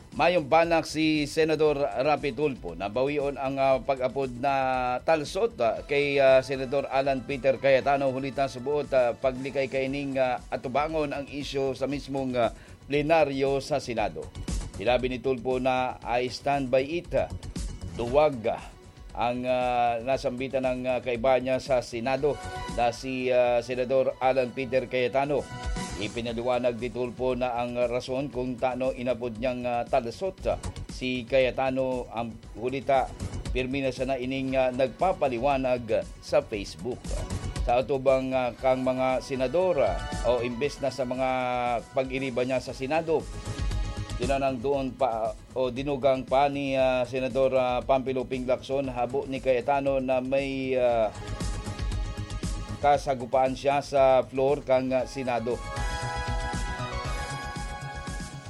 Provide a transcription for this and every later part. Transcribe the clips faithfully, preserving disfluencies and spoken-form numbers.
Mayong balak si Senador Raffy Tulfo na bawion ang, ah, pag-apod na talsot, ah, kay, ah, Senador Alan Peter Cayetano huli ta sa buot, ah, paglikay kaining, ah, atubangon ang isyu sa mismong, ah, plenaryo sa Senado. Sinabi ni Tulfo na, "I stand by it." Duwag, ah, ang, ah, nasambitan ng, ah, kaiba niya sa Senado na si, ah, Senador Alan Peter Cayetano. Ipinaliwanag ni Tulfo na ang rason kung tano inapod niyang, ah, talsot, ah, si Cayetano ang huli ta pirmi na sana ining, ah, nagpapaliwanag sa Facebook. Sa atubang, ah, kang mga senador, ah, o imbes na sa mga pag-iriba niya sa Senado, tinanang doon pa o dinugang pa ni, ah, Senador, ah, Panfilo Ping Lacson habo ni Cayetano na may, ah, kasagupaan siya sa floor kan, ah, Senado.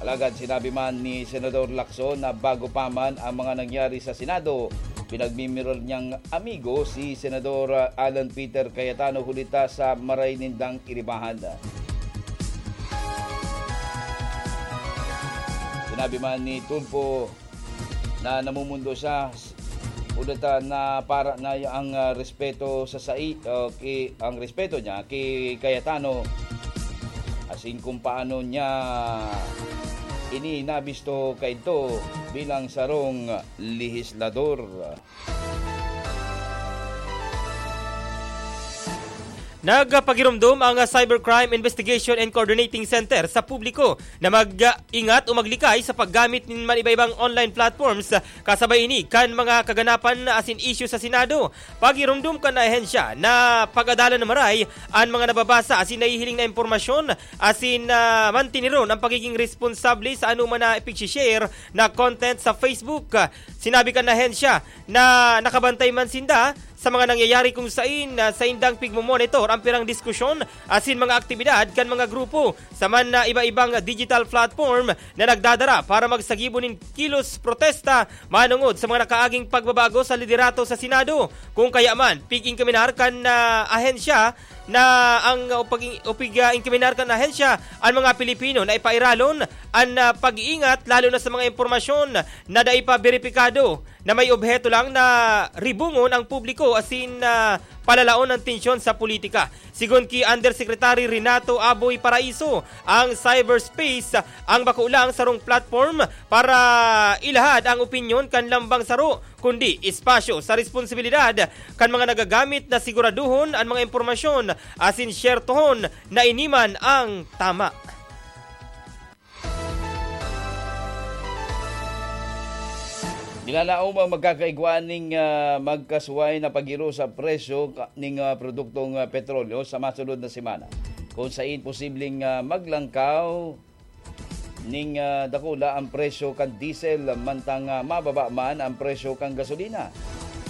Alagad sinabi man ni Senador Lacson na bago pa man ang mga nangyari sa Senado, pinagmimiral niyang amigo si Senador, ah, Alan Peter Cayetano huli ta sa maray nindang iribahan. Sinabi man ni Tulfo na namumundo siya, huli ta na para na ang, ah, respeto sa sai-, o ki-, ang respeto niya ki Cayetano, asin kung paano niya ini nabisto kaidto bilang sarong lehislador. Nagpagiromdom ang Cybercrime Investigation and Coordinating Center sa publiko na mag-ingat o maglikay sa paggamit nin man iba-ibang online platforms, kasabay ini kan mga kaganapan asin isyu sa Senado. Pagiromdom kan ahensya na pag-adalan na maray an mga nababasa asin nahihiling na impormasyon asin, ah, mantiniron ang pagiging responsable sa anoman na ipigsi-share na content sa Facebook. Sinabi kan ahensya na nakabantay man sinda sa mga nangyayari kung sain, ah, saindang pigmomonitor ang pirang diskusyon asin mga aktibidad kan mga grupo sa man na iba-ibang digital platform na nagdadara para magsagibo nin kilos protesta manongod sa mga nakaaging pagbabago sa liderato sa Senado. Kung kaya man, pig-inkaminar kan, ah, ahensya na ang, o pag-, o pig-, ah, inkaminar kan ahensya ang mga Pilipino na ipairalon an, ah, pag-iingat lalo na sa mga impormasyon na dai pa beripikado na may obheto lang na ribungon ang publiko asin, ah, palalaon ang tensyon sa politika. Sigon ki Undersecretary Renato Aboy Paraiso, ang cyberspace ang bako lang sarong platform para ilahad ang opinyon kan lambang saro, kundi espasyo sa responsibilidad kan mga nagagamit na siguraduhon an mga impormasyon asin syertohon na ini man ang tama. Nilalaom ang magkakaigwa ning, ah, magkasuway na pagiro sa presyo ka-, ning, ah, produktong, ah, petrolyo sa masunod na semana, kung sain posibleng, ah, maglangkaw ning, ah, dakula ang presyo kan diesel, mantang, ah, mababa man ang presyo kan gasolina.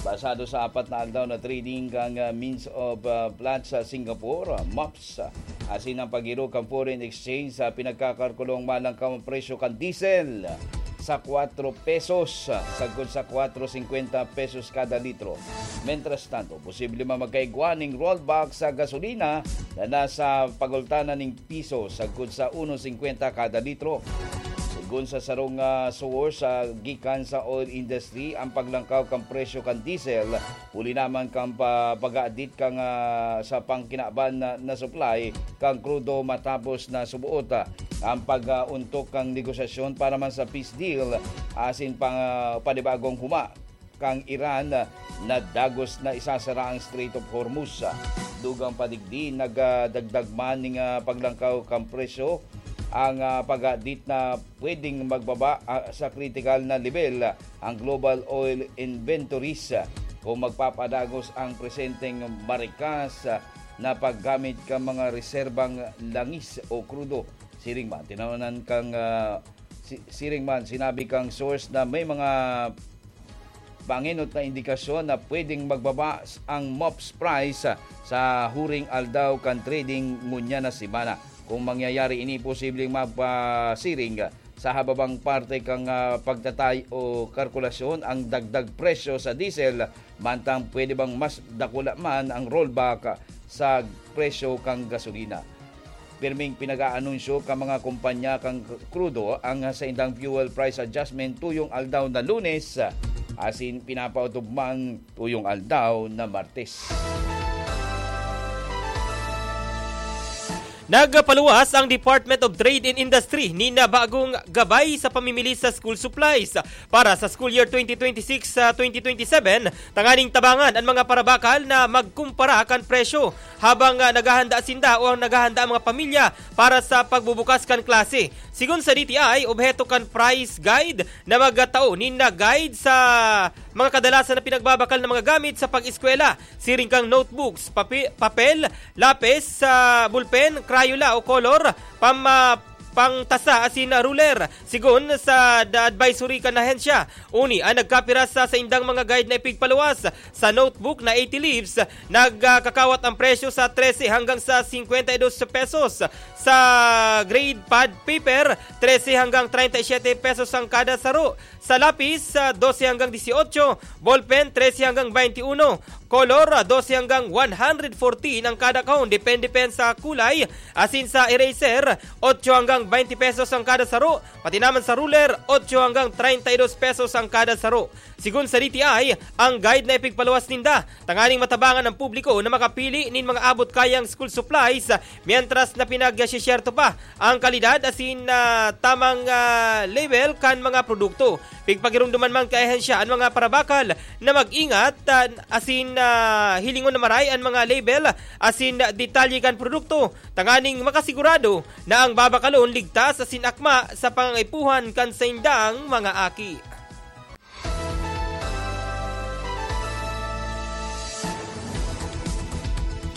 Basado sa apat na aldaw na trading kan, ah, Means of, ah, Platts sa Singapore, ah, MOPS, asin ang pagiro kan foreign exchange sa pinagkakalkulong malangkaw ang presyo kan diesel sa kwatro pesos, sagkod sa kwatro singkwenta pesos kada litro. Mientras tanto, posible man magkaigwa ning rollback sa gasolina na nasa pagultanan ning piso, sagkod sa uno singkwenta kada litro. Sigon sa sarong, ah, source, ah, gikan sa oil industry, ang paglangkaw kan presyo kan diesel huli naman kan pa-, pag-aadit kan, ah, sa pangkinaban na, na supply kan krudo matapos na subuot, ah, ang pag-, ah, untok kan negosasyon para man sa peace deal asin pang, ah, panibagong huma kan Iran, ah, na dagos na isasara ang Strait of Hormuz. Dugang pa digdi, nagdagdag man ning, ah, paglangkaw kan presyo ang, ah, pag-aadit na pwedeng magbaba, ah, sa kritikal na lebel, ah, ang global oil inventories, ah, kung magpapadagos ang presenteng marikas, ah, na paggamit kan mga reserbang langis o krudo. Siring man, tinawanan kang, ah, si-, siring man, sinabi kang source na may mga pangenot na indikasyon na pwedeng magbaba s-, ang MOPS price, ah, sa huring aldaw kan trading ngunyan na semana. Kung mangyayari ini, posibleng magpasiring sa hababang parte kan, ah, pagtatay o kalkulasyon ang dagdag presyo sa diesel, mantang pwede bang mas dakula man ang rollback sa presyo kan gasolina. pirming pinag-aanunsyo kan mga kompanya kan krudo ang saindang fuel price adjustment tuyong aldaw na Lunes, asin pinapaotob man tuyong aldaw na Martes. Nagpaluwas ang Department of Trade and Industry nin bagong gabay sa pamimili sa school supplies para sa school year twenty twenty-six sa twenty twenty-seven, tanganing tabangan an mga parabakal na magkumpara kan presyo habang, ah, naghahanda sinda o ang naghahanda ang mga pamilya para sa pagbubukas kan klase. Sigon sa D T I, obheto kan price guide na magtao nin guide sa mga kadalasan na pinagbabakal na mga gamit sa pag-eskwela. Siring kan notebooks, papi-, papel, lapis, ah, bulpen, Crayola o color, pama-, pangtasa asin ruler. Sigon sa The Advisory kan ahensya, uni an nagkapira sa saindang mga guide na ipigpaluwas. Sa notebook na eighty leaves, nagkakawat ang presyo sa trese hanggang sa singkwenta y dos pesos. Sa grade pad paper, trese hanggang treinta y siete pesos ang kada saro. Sa lapis, ah, dose hanggang dieciocho, ballpen, trese hanggang veintiuno, color, ah, dose hanggang one hundred fourteen ang kada kahon, depende pen sa kulay, asin sa eraser, otso hanggang baynte pesos ang kada saro, pati naman sa ruler, otso hanggang treinta y dos pesos ang kada saro. Sigon sa D T I, ang guide na ipigpaluwas ninda tanganing matabangan ang publiko na makapili nin mga abot-kayang school supplies, mientras na pinagsisyerto pa ang kalidad asin, ah, tamang, ah, label kan mga produkto. Pigpagiromdoman man kan ahensya an mga parabakal na mag-ingat, ah, asin, ah, hilingon na maray an mga label asin detalye kan produkto, tanganing makasigurado na ang babakalon ligtas asin akma sa pangangaipuhan kan saindang mga aki.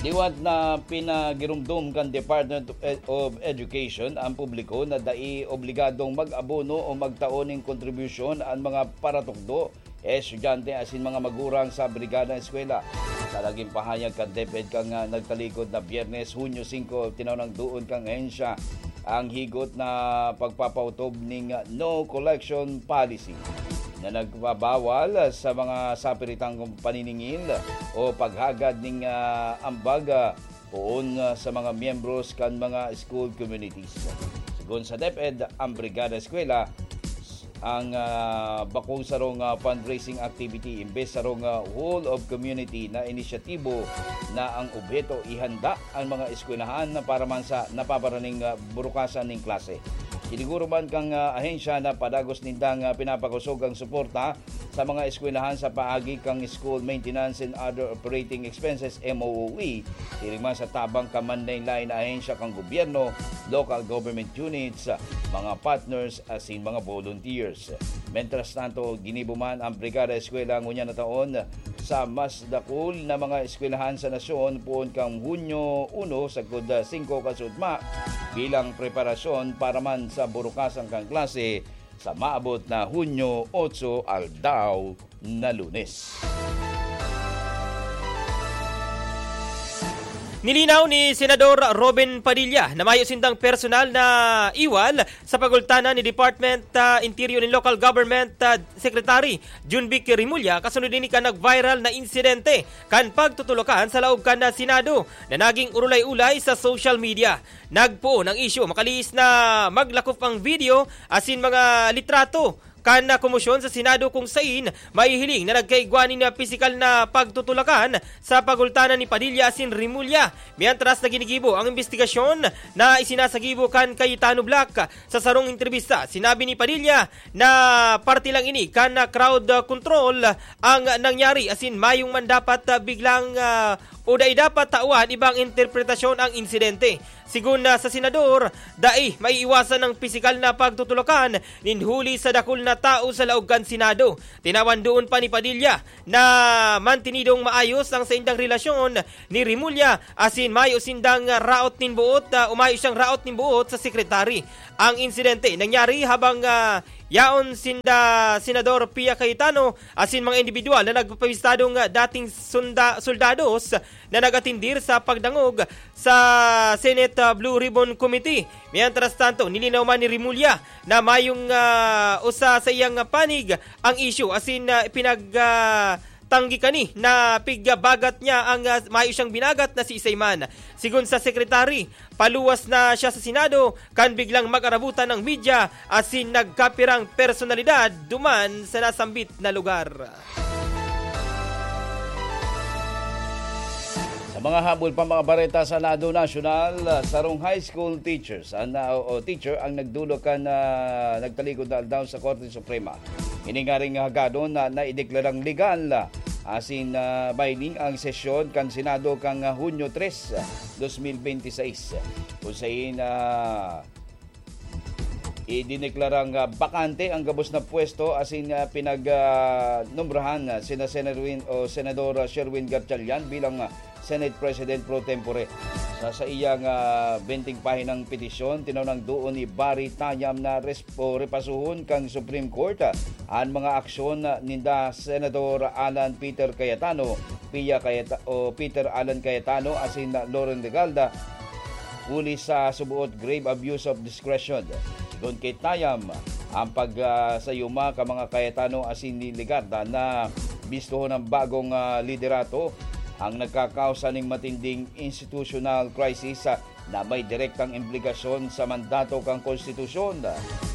Liwat na pinagiromdom kan Department of Ed-, of Education ang publiko na dai obligadong mag-abono o magtao nin kontribusyon an mga paratukdo, estudyante asin mga magurang sa Brigada Eskwela. Sa naging pahayag kan DepEd kan, ah, nagtalikod na Biyernes, Hunyo singko, tinao nang duon kan ahensya ang higot na pagpapaotob ning no collection policy na nagbabawal sa mga sapiritang paniningil o paghagad ning, ah, ambag, ah, poon, ah, sa mga miyembros kan mga school communities. Sigon sa DepEd, ang Brigada Eskwela ang, ah, bakong sarong, ah, fundraising activity imbes sarong, ah, whole of community na inisyatibo na ang obheto ihanda an mga eskwelahan na para man sa napaparaning, ah, burukasan nin klase. Siniguro man kan, ah, ahensya na padagos nindang, ah, pinapakosog ang suporta sa mga eskwelahan sa paagi kan School Maintenance and Other Operating Expenses, M O O E, siring man sa tabang kan manlaen-laen na ahensya kan gobyerno, local government units, mga partners, asin mga volunteers. Mientras tanto, ginibo man ang Brigada Eskwela ngunyan na taon sa mas dakul na mga eskwelahan sa nasyon poon kan Hunyo uno sagkod singko kan sugma bilang preparasyon para man sa burukasan kan klase sa maabot na Hunyo otso, aldaw na Lunes. Nilinaw ni Senador Robin Padilla na mayo sindang personal na iwal sa pagultanan ni Department, ah, Interior and Local Government, ah, Secretary Jun Vic Remulla kasunod ini kan nag-viral na insidente kan pagtutulakan sa laog kan Senado na naging urulay-ulay sa social media. Nagpoon ang isyu makalihis na maglakop ang video asin mga litrato kan komosyon sa Senado kung sain mahihiling na nagkaigwa nin pisikal na pagtutulakan sa pagultanan ni Padilla asin Remulla. Mientras na ginigibo ang imbestigasyon na isinasagibo kan Cayetano Block, sa sarong entrebista, sinabi ni Padilla na parte lang ini kan crowd control ang nangyari asin mayong man dapat, ah, biglang, ah, o dai dapat tawan ibang interpretasyon ang insidente. Sigon na sa senador, dai maiiwasan ang pisikal na pagtutulakan nin huli sa dakul na tao sa laog kan Senado. Tinawan doon pa ni Padilla na mantinidong maayos ang saindang relasyon ni Remulla asin mayo sindang raot nin buot, ah, o mayo siyang raot nin buot sa sekretary. Ang insidente nangyari habang, ah, yaon sinda Senador Pia Cayetano asin mga indibidwal na nagpapabistadong, ah, dating sunda-, soldados na nag-atindir sa pagdangog sa Senate, ah, Blue Ribbon Committee. Mientras tanto, nilinaw man ni Remulla na mayong, ah, usa sa iyang panig ang isyu asin, ah, pinag-, ah, tanggi kani na pigbagat niya ang, ah, mayo siyang binagat na si Isayman. Sigon sa secretary, paluwas na siya sa Senado kan biglang mag-arabutan ang media asin nagkapirang personalidad duman sa nasambit na lugar. Sa mga habol pa, mga bareta sa lado nasyonal, sarong high school teachers ang, o, o teacher ang nagdulog kan, ah, nagtalikod na aldaw sa Korte Suprema. Ini ngaring hagadon na naideklarang legal, ah, asin, ah, binding ang sesyon kan Senado kan, ah, Hunyo tres, dos mil benti seis, kung sain, ah, idineklarang, ah, bakante ang gabos na pwesto asin, ah, pinag, ah, nombrahan, ah, sina Senator Win, o Senador, ah, Sherwin Gatchalian bilang, ah, Senate President pro tempore. Sa saiyang, ah, benteng pahinang petisyon, tinao nang duon ni Barry Tayam na res-, o repasuhon kan Supreme Court, ah, an mga aksyon, ah, ninda Senador Alan Peter Cayetano, Pia Cayeta-, o Peter Alan Cayetano asin Loren Legarda, huli sa suboot grave abuse of discretion. Sigon ki Tayam, ang pag, ah, sayuma kan mga Cayetano asin ni Legarda na bistohon ang bagong, ah, liderato ang nagkakausa ning matinding institutional crisis, ah, na may direktang implikasyon sa mandato kan konstitusyon.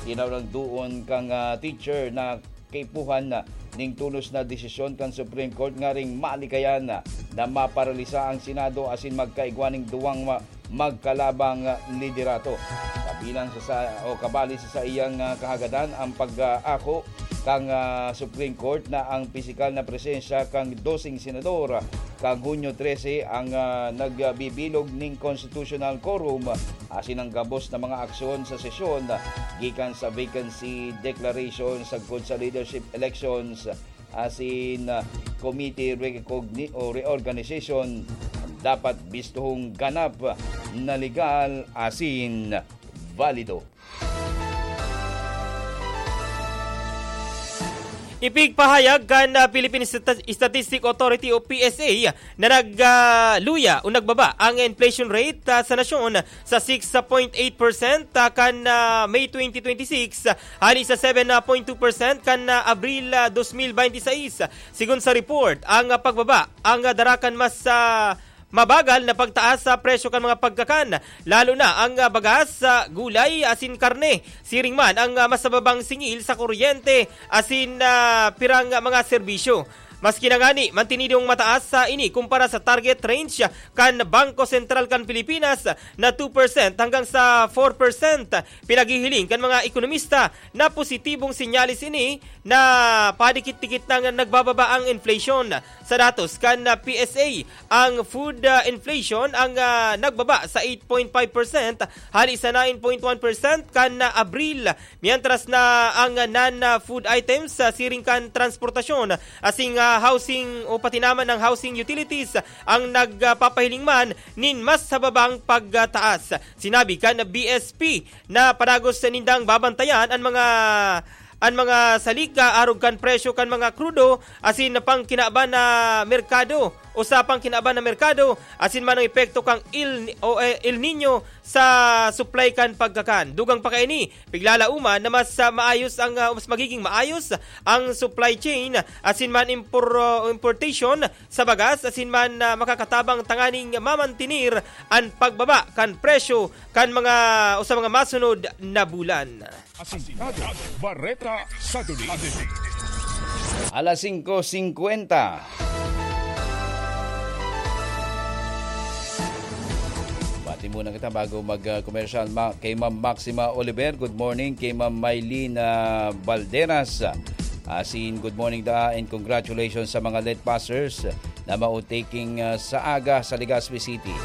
Tinao nang duon kan, ah, teacher na kaipuhan na ning tolos na desisyon kan Supreme Court ngaring malikayan na, na maparalisa ang Senado asin magkaigwa ning duwang ma-, magkalabang liderato. Kabilang sa, sa, o kabali sa saiyang, ah, kahagadan ang pag-aako kan, ah, Supreme Court na ang pisikal na presensya kan doseng senador kan Hunyo trese ang, ah, nagbibilog ning constitutional quorum asin ang gabos na mga aksyon sa sesyon gikan sa vacancy declaration sagkod sa leadership elections asin, ah, committee recogni-, o reorganization dapat bistuhong ganap na legal asin valido. Ipigpahayag kan, ah, Philippine Stati-, Statistic Authority o P S A na nag, ah, luya o nagbaba ang inflation rate, ah, sa nasyon sa six point eight percent, ah, kan, ah, May twenty twenty-six, ah, hali sa seven point two percent kan, ah, Abril, ah, dos mil benti seis. Sigon sa report, ang, ah, pagbaba ang, ah, dara kan mas, ah, mabagal na pagtaas sa presyo kan mga pagkakan, lalo na ang, ah, bagas, ah, gulay asin karne. Siring man ang, ah, mas mababang singil sa kuryente asin, ah, pirang, ah, mga serbisyo. Maski na ngani, mantinidong mataas sa ini kumpara sa target range kan Bangko Sentral kan Pilipinas na two percent hanggang sa four percent. Pinaghihiling kan mga ekonomista na positibong senyales ini na padikit-dikit nang nagbababa ang inflation. Sa datos kan P S A, ang food, ah, inflation ang, ah, nagbaba sa eight point five percent hali sa nine point one percent kan, ah, Abril, mientras na ang, ah, non-food items, ah, siring kan transportasyon, asing, ah, housing o pati naman ang housing utilities ang nagpapahiling man nin mas hababang pagtaas. Sinabi kan B S P na padagos nindang babantayan an mga, an mga salika arog kan presyo kan mga krudo asin pangkinaban na merkado o sa pangkinaban na merkado asin man ang epekto kan El, o, eh, El Nino sa supply kan pagkakan. Dugang pa kaini, piglalauman na mas, ah, maayos ang, ah, mas magiging maayos ang supply chain asin man impor-, ah, importation sa bagas asin man, ah, makakatabang tanganing mamantinir an pagbaba kan presyo kan mga o sa mga masunod na bulan. Asintado, Bareta sa Duli. Alas singko singkwenta. Bati muna kita bago mag, ah, komersyal, ma-, kay Ma'am Maxima Oliver. Good morning kay Ma'am Mylene, ah, Balderas. Asin, good morning da and congratulations sa mga late passers na mao taking, ah, sa aga sa Legazpi City.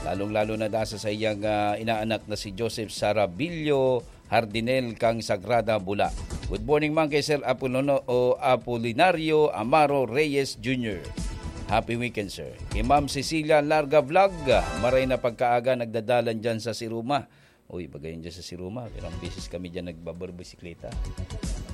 Lalong-lalo na da sa saiyang, ah, inaanak na si Joseph Sarabillo Hardinel kang Sagrada Bula. Good morning man kay Sir Apolino-, o Apolinario Amaro Reyes Junior. Happy weekend, sir. Kay Ma'am Cecilia Larga Vlog, maray na pagkaaga nagdadalan dyan sa Siruma. Uy, bagayon dyan sa Siruma. Ilang beses kami dyan nagbabarbisikleta.